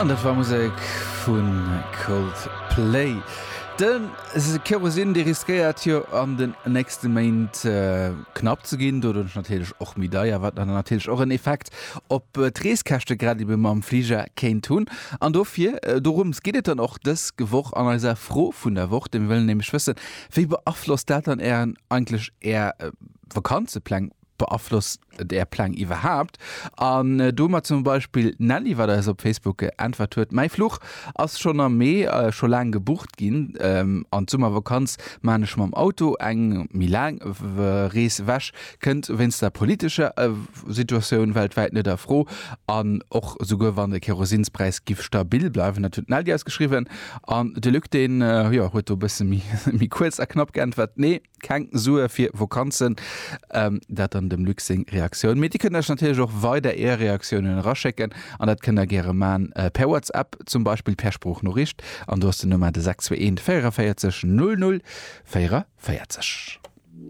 An dat war Musek vu Coldplay. De Kerosin, dee riskéiert jo an den nächste Méint knapp ze ginn, doduerch natierlech och méi deier, wat dann natierlech och en Effekt op d'Reeskäschte grad ebe mam Fliger kéint hunn. An dofir, dorëms geet et dann och dës Woch an eiser Fro vun der Woch, denn mir wëllen nämlech wëssen, Wéi beaflosst dat dann Ären, eigentlech Är Vakanzepläng? Beaflosst et Är Pläng iwwerhaapt? An do hu mer zum Beispill d'Nelly, wat eis op Facebook geäntwert huet, Mäi Fluch ass schonn am Mee scho laang gebucht ginn an d'Summervakanz maan ech mam Auto. Eng méi laang Rees ewech kënnt wéinst der politescher Situatioun weltwäit net a Fro an och souguer wann de Kerosinspräis giff stabil bleiwen. Dat huet d'Nelly eis geschriwwen. An de Luc, deen, jo, huet do e bësse méi kuerz a knapp geäntwert, Nee. Keng Sue fir Vokanzen, dat dann dem Luc seng Reaktioun. Mee Dir kënnt eis natierlech och weider Är Reaktiounen eraschécken an dat kënnt der gäre man per WhatsApp, zum Beispill per Sproochnoriicht an do ass den Nummer de 621 44 00 44.